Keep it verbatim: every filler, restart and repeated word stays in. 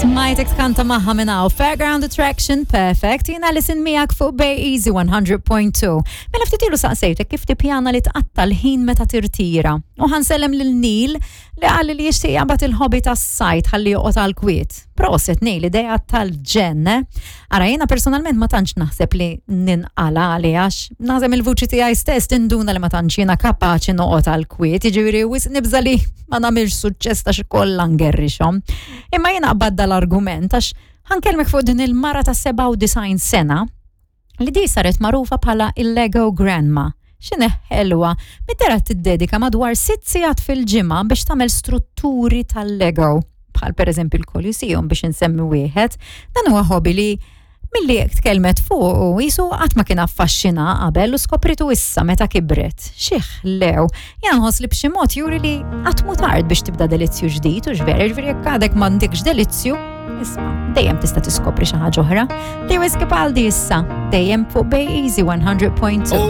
Smajtek tkanta magħha minn hawn. Fairground Attraction, perfect. Jiena Alison miegħek fuq Bay Easy one hundred point two. Mela ftit ilu saqsejtek kif tippjana li tqatta l-ħin meta tirtira. U ħa nsellem lil Neil li qal li jixtieq jaqbad il-hobby tas-sajd ħalli joqgħod għal kwiet. Prosit Neil, idea tal-ġenn. Ara, jiena personalment ma tantx naħseb li ninqala għali, għax naħseb il-vuċi tiegħi stess tinduna li ma tantx jiena kapaċi noqgħod għal kwiet, jiġifieri wisq nibża li ma nagħmilx suċċess ta' xi kollha ngerrixhom. Imma jiena qbad dal-argument għax ħa nkellmek fuq din il-mara ta' sebgħa u disgħin sena li di saret magħrufa bħala il-Lego Grandma. X'inhi ħelwa, mid-dera tiddedika madwar sitt sigħat fil-ġimgħa biex tagħmel strutturi tal-Lego, bħal per eżempju il-Coliseum, biex insemmi wieħed. Dan huwa hobby li milli tkellmet fuq u jisu qatt ma kien affaxxina qabel u skopritu issa meta kibret. Xi ħlew, jien nħoss li b'xi mod juri li qatt mhu tard biex tibda delizzju ġdid u x'vera, ġifieri jekk għadek m'għandekx delizzju, isma', dejjem tista' tiskopri xi ħaġa oħra. Lewis Capaldi issa, dejjem fuq Bay Easy one hundred point two.